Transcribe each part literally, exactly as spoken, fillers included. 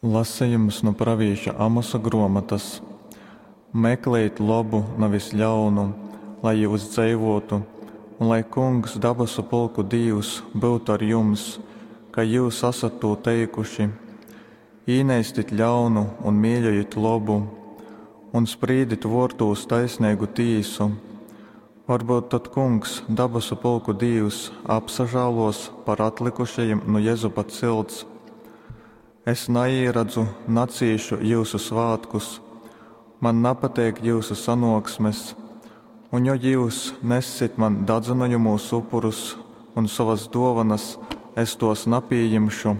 Lasejums nu pravīša Amosa gruomotas. Meklejit lobu, navis ļaunu, lai jyus dzeivōtu, un lai Kungs, dabasu pulku Dīvs, byutu ar jums, kai jyus asat tū teikuši. Īneistit ļaunu un mīļojit lobu, un sprīdit vōrtūs taisneigu tīsu. Varbyut tod Kungs, dabasu pulku Dīvs, apsažālōs par atlykušajim nu Jezupa cilts. Es naīradzu, nacīšu jyusu svātkus, man napateik jyusu sanōksmes, un jo jyus nessit man dadzynojamūs upurus un sovas dōvonas, es tōs napījimšu,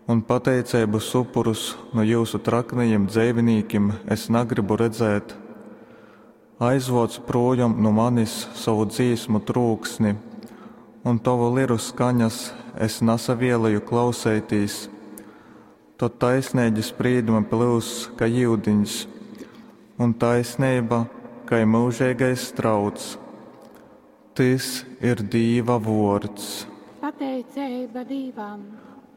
un pateiceibas upurus nu jyusu traknajim dzeivinīkim es nagrybu redzēt. Aizvōc prūjom nu manis sovu dzīsmu trūksni, un tovu liru skaņas es nasavieleju klauseitīs. Tod taisneigi sprīdumi plyuss kai yudiņs, un taisneiba kai myužeigais strauts. Tys ir Dīva vuords. Pateiceiba Dīvam.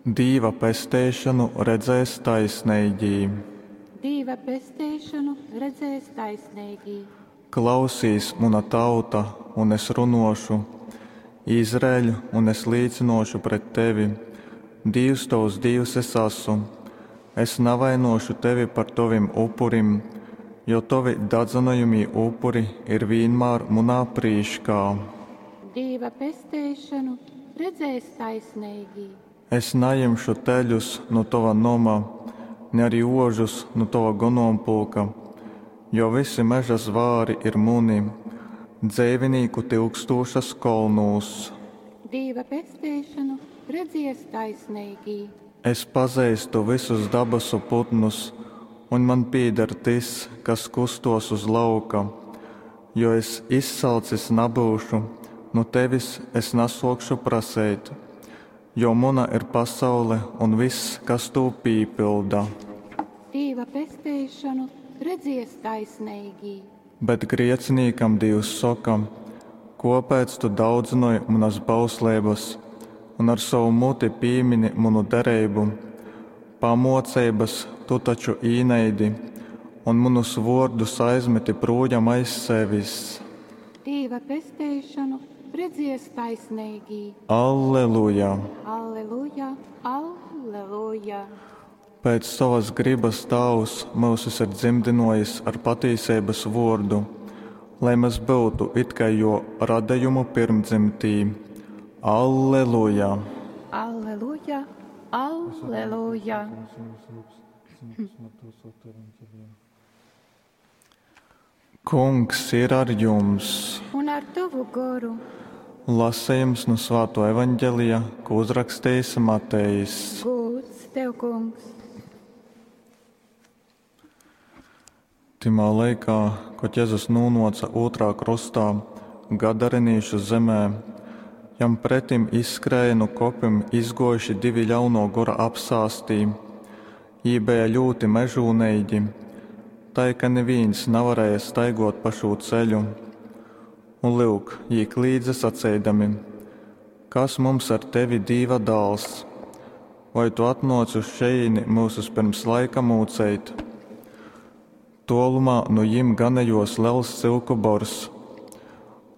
Dīva pesteišonu redzēs taisneigī. Dīva pesteišonu redzēs taisneigī. Klausīs, muna tauta, un es runōšu, Izraeļ, un es līcynōšu pret tevi, Dīvs tovs Dīvs es asu. Es navainōšu tevi par tovim upurim, jo tovi dadzynojamī upuri ir vīnmār munā prīškā. Dīva pesteišonu redzēs taisneigī. Es najimšu teļus nu tova noma, ni arī ožus nu tova gonompulka, jo vysi meža zvāri ir muni, dzeivinīku tyukstūšas kolnūs. Dīva pesteišonu redzies taisneigī. Es pazeistu vysus dabasu putnus, un man pīdar tys, kas kustuos uz lauka. Jo es izsalcis nabyušu, nu tevis es nasuokšu praseit, jo muna ir pasaule un vyss, kas tū pīpylda. Dīva pesteišonu redzies taisneigī. Bet griecinīkam Dīvs soka: Kōpēc tu daudzynoj munas bausleibas un ar sovu muti pīmini munu dereibu? Pamōceibas tu taču īneidi un munus vōrdus aizmeti prūjam aiz sevis. Dīva pesteišonu redzies taisneigī. Alleluja! Alleluja, alleluja! Pēc sovas grybas Tāvs myusus ir dzymdynōjis ar patīseibas vōrdu, lai mes byutu it kai jō radejumu pyrmdzymtī. Alleluja! Alleluja, alleluja! Kungs ir ar jums! Un ar tavu goru. Lasejums nu Svāto evaņģelija, ko uzrakstījis Matejs. Gūds tev, kungs! Tymā laikā, kod Jezus nūnōca ūtrā krostā, Gadarenīšu zemē, jam pretim izskrēja nu kopim izgōjuši divi ļaunō gora apsāstī. Jī beja ļūti mežūneigi, tai ka nivīns navarēja staigot pa šū ceļu. Un lyuk, jī klīdze saceidami: Kas mums ar tevi, Dīva dāls? Vai tu atnōci uz šejīni myusus pirms laika mūceit? Tōlumā nu jim ganejōs lels cyuku bors.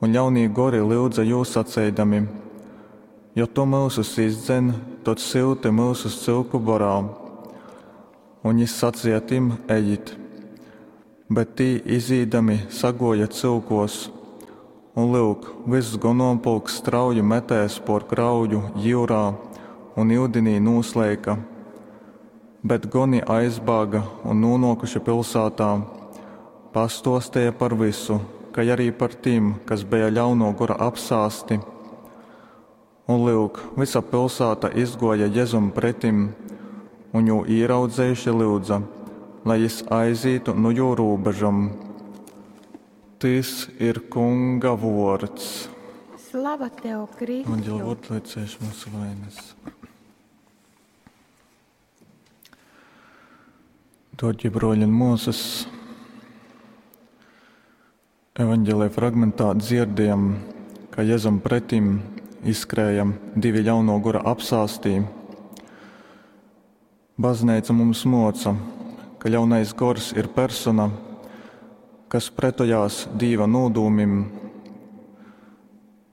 Un ļaunī gori lyudza jū saceidami: Jo tu myusus izdzen, tod syuti myusus cyuku borā. Un jis saceja tim: Ejit! Bet tī izīdami sagōja cyukos. Un lyuk, vyss gonompulks strauji metēs pōr grauju jyurā un yudinī nūsleika. Bet goni aizbāga un nūnōkuši pilsātā, pastōsteja par vysu, kai arī par tim, kas beja ļaunō gora apsāsti. Un lyuk, vysa pilsāta izgōja Jezum pretim, un jū īraudzejuši lyudza, lai jis aizītu nu jū rūbežom. Tys ir Kunga vōrds. Slava tev, Kristu! Evaņģeļa vōrds, lai cieš mūsu vainas. Dārgie broļi un māsas, evaņģēlija fragmentā dzirdējam, ka Jēzum pretim izskrēja divi ļauno gora apsāstī. Bazneica mums mōca, ka ļaunais gors ir persona, kas pretojās Dīva nūdūmim.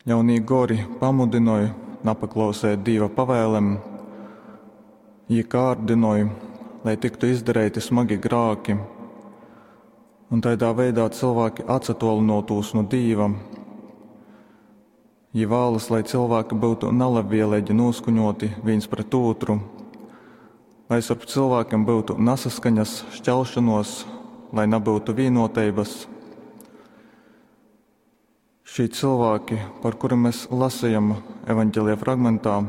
Ļaunī gori pamudynoj napaklauseit Dīva pavēlem. Jī kārdynoj, lai tyktu izdareiti smagi grāki, un taidā veidā cylvāki atsatōlynōtūs nu Dīva. Jī vālas, lai cylvāki byutu nalabvieleigi nūskaņōti vīns pret ūtru, lai storp cylvākim byutu nasaskaņas, šķelšanos, lai nabyutu vīnoteibas. Šī cylvāki, par kurim mēs lasījam evaņģelija fragmentā,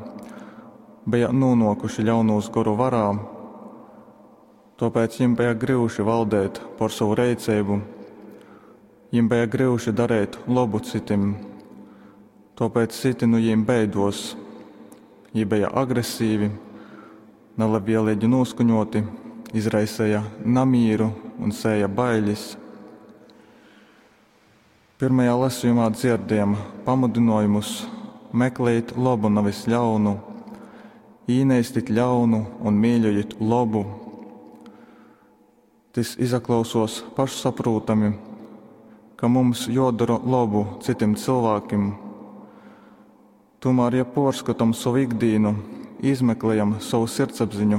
bija nonākuši ļaunūs goru varā, tōpēc jim bija gryuši valdēt pār savu reiceibu, jim bija gryuši darīt labu citim, tōpēc citi nu jīm beidos. Jī bija agresīvi, nelabvēlīgi noskaņoti, izraisīja namīru un sēja bailes. Pirmajā lasījumā dzirdējam pamudinājumus meklēt labu, nevis ļaunu, īneistit ļaunu un mīļojiet labu. Tis izaklausos pašsaprūtami, ka mums jodara labu citim cilvēkiem. Tomēr, ja porskatam savu ikdienu, izmeklējam savu sirdsapziņu,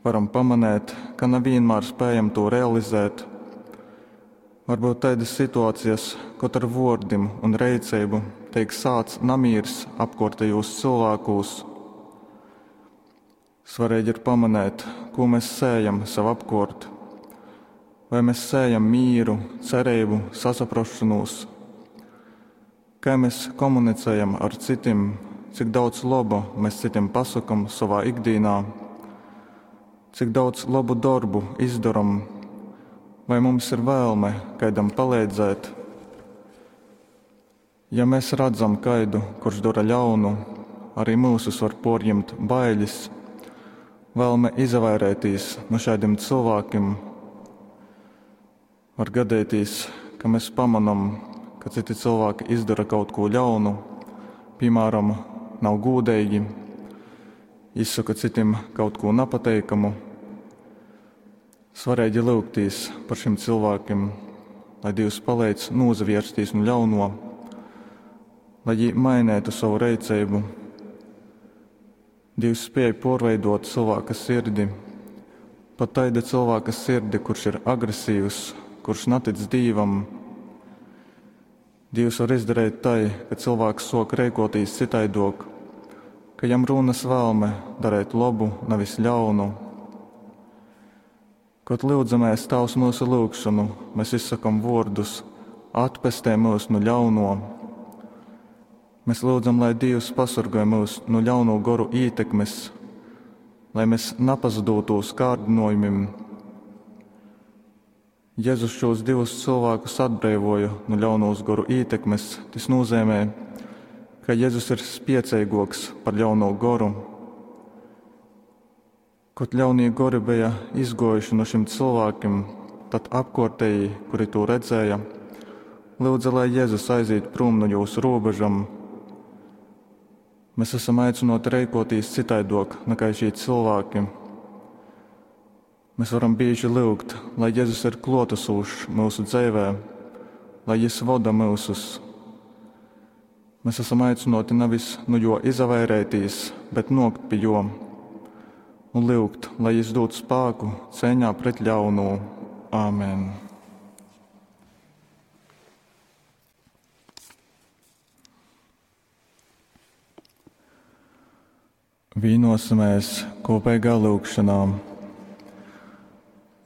varam pamanēt, ka nevienmēr spējam to realizēt. Varbūt tādas situācijas, kad ar vārdim un reiceibu tiek sāts namīrs apkārtējos cilvēkos. Svarīgi ir pamanēt, ko mēs sējam sev apkārt. Vai mēs sējam mīru, cerību, sasaprašanos? Kā mēs komunicējam ar citiem, cik daudz laba mēs citiem pasakam savā ikdienā, cik daudz labu darbu izdaram, vai mums ir vēlme kādam palīdzēt. Ja mēs redzam kaidu, kurš dara ļaunu, arī mūsus var porņemt bailes, vēlme izvairēties no šādiem cilvēkiem. Var gadīties, ka mēs pamanam, ka citi cilvēki izdara kaut ko ļaunu, piemēram, nav gūdīgi, izsaka citiem kaut ko nepateikamu. Svarīgi lūgtīs par šiem cilvēkiem, lai Dievs palīdz nozavirsties no ļauno, lai viņi mainētu savu reiceibu. Dievs spēja porveidot cilvēka sirdi, pat taida cilvēka sirdi, kurš ir agresīvs, kurš netic Dievam. Dievs var izdarīt tai, ka cilvēks sok reikotīs citaidok, ka jam rūnas vēlme darīt labu, nevis ļaunu. Kad lūdzamies Tavs mūsu lūgšanu, mēs izsakam vārdus: atpestē mūs no ļauno. Mēs lūdzam, lai Dievs pasargāj mūs no ļauno goru ietekmes, lai mēs nepazudūtos kārdinājumiem. Jēzus šos divus cilvēkus atbrīvoja no ļaunos goru ietekmes. Tas nozīmē, ka Jēzus ir spiecīgāks par ļauno goru. Kad ļaunie gori bija izgojuši no šiem cilvēkiem, tad apkārtēji, kuri to redzēja, lūdza, lai Jēzus aiziet prom no jūsu robežam. Mēs esam aicināti reikotīs citaidok nekā šie cilvēki. Mēs varam bieži lūgt, lai Jēzus ir klotasūšs mūsu dzīvē, lai Jis voda mūsus. Mēs esam aicināti nevis no jo izvairētīs, bet nokt pie jo un lūgt, lai Jis dod spēku cīņā pret ļauno. Āmen! Vīnosimies kopīgā lūgšanā.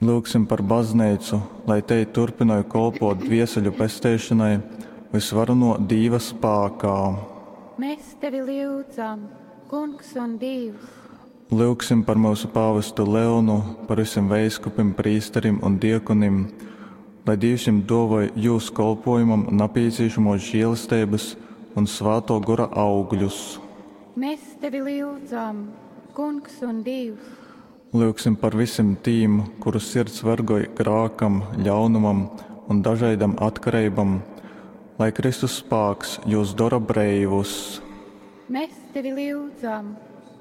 Lūgsim par baznīcu, lai te turpinātu kolpot dvieseļu pesteišanai visvarano Dīva spākā. Mēs tevi lūdzam, Kungs un Dievs. Lūgsim par mūsu pāvestu Leonu, par visiem veiskupim, prīsterim un diekonim, lai Dievs jums dovoj jūsu kolpojumam nepieciešamos žēlastības un svēto gora augļus. Mēs tevi lūdzam, Kungs un Dievs. Lūgsim par visiem tīm, kuru sirds vergoj grākam, ļaunumam un dažaidam atkarībam, lai Kristus spāks jūs dara breivus. Mēs tevi lūdzam,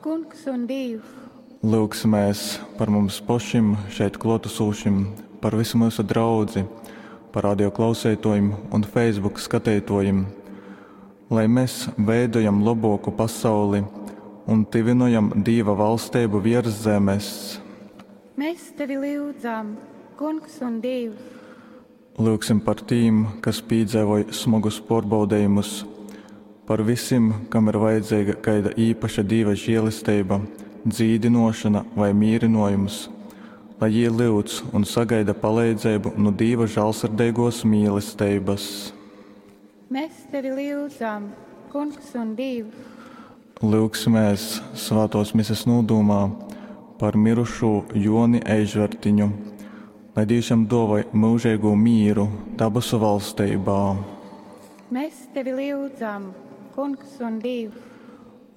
Kungs un Dievs. Lyugsimēs par mums pošim, šeit klōtasūšim, par vysu myusu draudzi, par radio klauseitōjim un Facebook skateitōjim, lai mes veidojam lobōku pasauli un tyvynojam Dīva valsteibu viers zemes. Mes tevi lyudzam, Kungs un Dīvs! Lyugsim par tīm, kas pīdzeivoj smogus pōrbaudejumus, par vysim, kam ir vajadzeiga kaida īpaša Dīva želesteiba, dzīdynōšona vai mīrynōjums, lai jī lyudz un sagaida paleidzeibu nu Dīva žālsirdeigōs mīlesteibas. Mes tevi lyudzam, Kungs un Dīvs! Lyugsimēs svātōs Mises nūdūmā par myrušū Jōni Eižvertiņu, lai Dīvs jam dōvoj myužeigū mīru dabasu valsteibā. Mes tevi lyudzam, Kungs un Dīvs!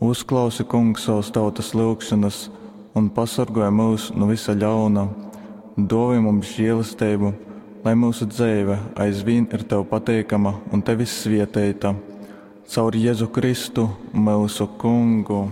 Uzklausi, Kungs, sovas tautas lyugšonas un pasorgoj myus nu vysa ļauna. Dōvoj mums želesteibu, lai myusu dzeive aizvīn ir tev pateikama un tevis svieteita. Caur Jezu Kristu, myusu Kungu.